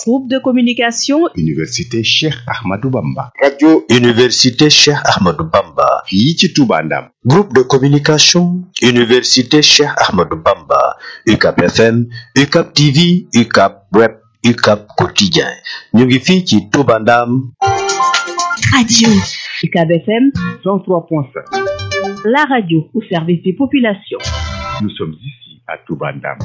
Groupe de communication Université Cheikh Ahmadou Bamba. Radio Université Cheikh Ahmadou Bamba. fii ci Touba Ndam. Groupe de communication Université Cheikh Ahmadou Bamba. UCAP FM, UCAP TV, UCAP Web, UCAP Quotidien. ñu ngi fii ci Touba Ndam. Radio UCAB FM 103.5. la radio au service des populations. Nous sommes ici à Touba Ndam.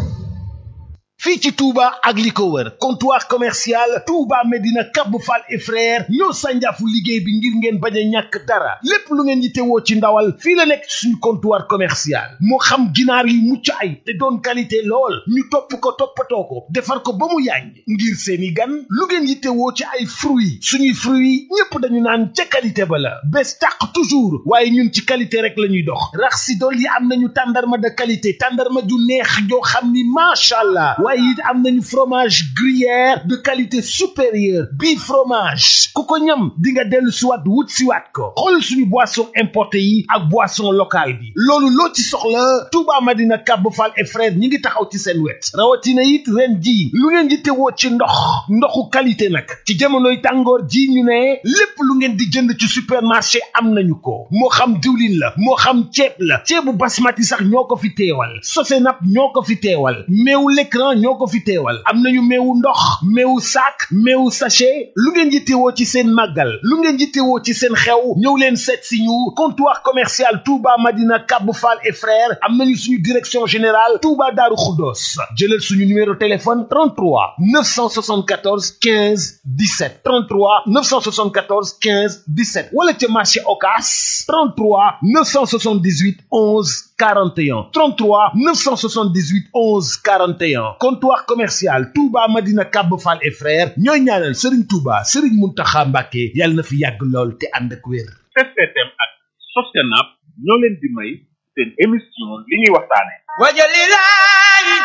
fii ci Touba ak li ko wër comptoir commercial Touba Medina Cap Fall et frère ñoo sànjaafu liggéey bi ngir ngeen bañ a ñàkk dara lépp lu ngeen yittewoo ci ndawal fii la nekk suñu comptoir commercial moo xam ginaar yu mucc ay te doon qualité lool ñu topp ko toppatoo ko defar ko ba mu yàññ ngir seeni gan lu ngeen yittewoo ci ay fruits suñuy fruits ñëpp dañu naan ca qualité ba la bés tàq toujours waaye ñun ci qualité rek la ñuy dox rax si dool yi am nañu tàndarma de qualité tàndarma ju neex joo xam ni macha allah waaye it am nañu fromage gruyère de qualité supérieure bii fromage ku ko ñam di nga dellu siwaat wut siwaat ko xool suñu boisson importé yi ak boisson locale bi loolu loo ci soxla Touba Madina Cap Fall et frère ñi ngi taxaw ci seen wet rawatina it ren ji lu ngeen di tewoo ci ndoxu qualité nag ci jamonoy tàngoor ji ñu ne lépp lu ngeen di jënd ci supermarché am nañu ko moo xam diwlin la moo xam ceeb la ceebu basmati sax ñoo ko fi teewal Sosenap ñoo ko fi teewal meewu l'écran ñoo ko fi teewal am nañu meewu ndox meewu sac meewu sachet lu ngeen yittewoo ci seen màggal lu ngeen yittewoo ci seen xew ñëw leen seet si ñu comptoir commercial Touba Madina Cap Fall et frères am nañu suñu direction générale Touba Darou Khoudoss jëlal suñu numéro téléphone 33 974 15 17 33 974 15 17 wala ca marché Ocass 33 978 11 41 33 978 11 41 comptoir commercial Touba Madina Cap Fall et frères ñooy ñaanal Serigne Touba Serigne Mountakha Mbacké yàlla na fi yàgg lool te ànd ak wér. STM ak Sosenap ñoo leen di may seen émission li ñuy waxtaane wajalilahi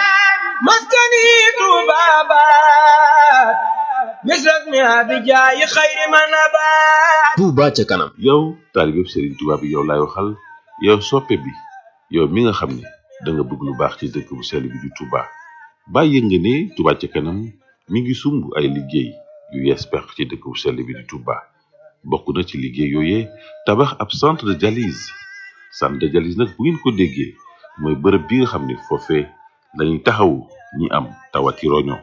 maskani tubabat misrak mi abijayi xayri manabat Touba ca kanam. yow taalibeb Serigne Touba bi yow laay waxal yow soppe bi yow mi nga xam ne da nga bëgg lu baax ci dëkk bu sell bi di Touba bàyyi nga ne Touba ca kanam mi ngi sumb ay liggéey yu yees peq ci dëkk bu sell bi di Touba bokk na ci liggéey yooyee tabax ab centre de dialyse nag bu ngeen ko déggee mooy bërëb bi nga xam ne foofee lañuy taxawu ñi am tawati roño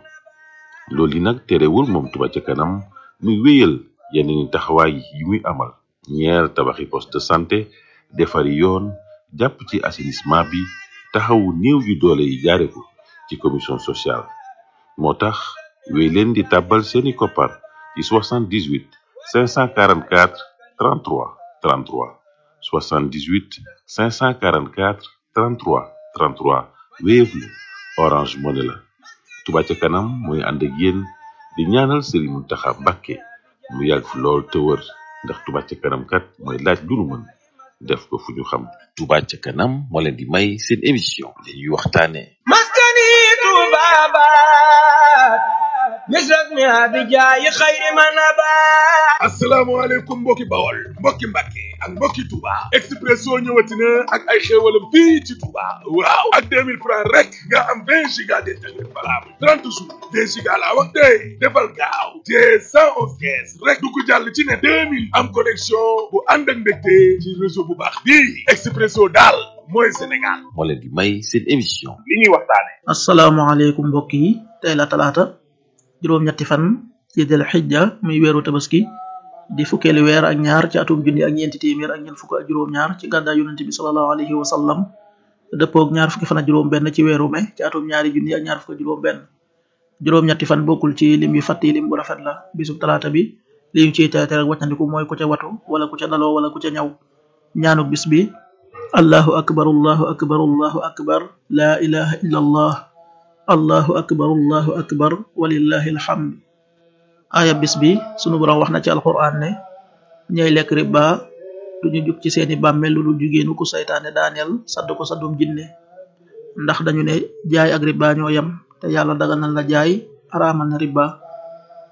loolu yi nag terewul moom Touba ca kanam muy wéyal yeneen taxawaay yi muy amal ñeer tabaxi poste de santé defari yoon jàpp ci assainissement bi taxawu néew yu doole yi jaare ko ci commission sociale moo tax wéy leen di tàbbal seeni koppar ci 78 544 33 33 78 544 33 33 Wave la Orange Money la Touba ca kanam mooy ànd ak yéen di ñaanal Serigne Mountakha Mbacké mu yàgg fi lool te wër ndax Touba ca kanam kat mooy laaj lu nu mën def ko fu ñu xam. Touba ca kanam moo leen di may seen émission li ñuy waxtaane maskani tubabat misrak mi abijayi xayri manabat asalaamaaleykum mbokki Bawol mbokki Mbàkke ak mbokki Touba Expresso ñëwati na ak ay xéewalam fii ci Touba waaw ak 2000 francs rek nga am 20 giga d'internet valable 30 jours 2 giga laa wax tey defal gaaw te 111 kees rek du ko jàll ci ne 2000 am connexion bu ànd ak mbégte ci réseau bu baax bii Expresso daal mooy Sénégal moo leen di may seen émission li ñuy waxtaane asalaamaaleykum mbokk yi tey la talaata juróom-ñetti fan ci del xijja muy weeru tabaski di fukkeelu weer ak ñaar ci atum junni ak ñeenti téeméer ak ñeent fukk ak juróom-ñaar ci gàddaay yonente bi sallallahu alayhi wa sallam dëppoog ñaar fukki fan ak juróom-benn ci weeru mai ci atum ñaari junni ak ñaar fukk ak juróom-benn juróom-ñetti fan bokkul ci lim yu fàtti lim bu rafet la bisub talaata bi li ñu ciy teete rek wàccandiku mooy ku ca watu wala ku ca daloo wala ku ca ñaw ñaanuk bis bi allahu akbar allahu akbar allahu akbar laa ilaha illa allah allahu akbar walillahi alhamd aya bis bi sunu borom wax na ci alquran ne ñay lekk riba duñu jug ci seeni bàmmeel lu dul jigéenu ku saytaane daaneel sadd ko saddum jinne ndax dañu ne jaay ak riba ñoo yam te yàlla daganal la jaay araamal na riba